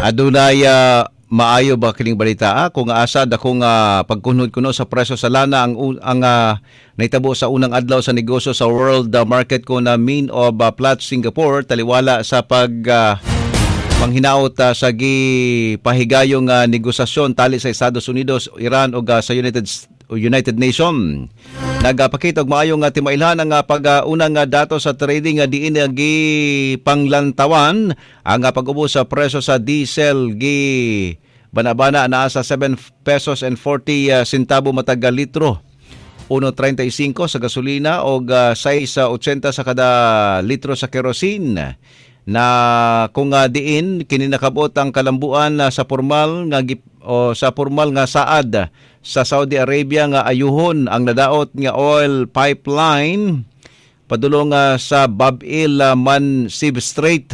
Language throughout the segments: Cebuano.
Adunay maayo ba kining balita, ah? Kung asa dakong pagkunhod kuno sa presyo sa lana ang nahitabo sa unang adlaw sa negosyo sa world market ko na mean of Platts Singapore, taliwala sa pag panghinaot sa gipahigayong negosasyon tali sa Estados Unidos, Iran ug sa United United Nation. Nagapakita og maayong timailhan ang pag-unang dato sa trading nga diin gipanglantawan ang pag-ubo sa presyo sa diesel, gi banabana naa sa 7 pesos and 40 centavo matag litro. 1.35 sa gasolina o 6.80 sa kada litro sa kerosene, na kung diin kini nakabot ang kalambuan sa formal nga o sa formal nga saad sa Saudi Arabia nga ayuhon ang nadaot nga oil pipeline padulong sa Bab el Mandeb Strait.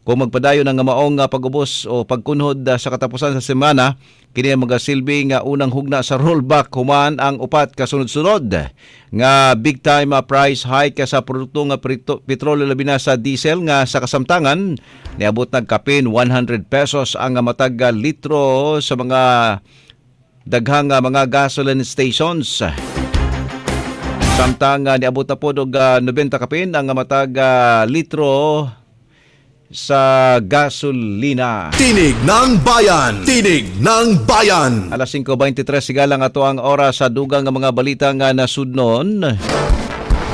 Kung magpadayon ang maong pag-ubos o pagkunhod sa katapusan sa semana, kini ang magasilbi nga unang hugna sa rollback human ang upat kasunod-sunod nga big time price hike sa produkto nga petrolyo, labi na sa diesel nga sa kasamtangan niabot nagkapin 100 pesos ang matag litro sa mga daghang mga gasoline stations. Samtang niabot na pod og 90 kapin ang matag litro sa gasolina. Tinig ng Bayan! Tinig ng Bayan! Alas 5:23 sigalang ato ang oras sa dugang nga mga balita nga nasudnon.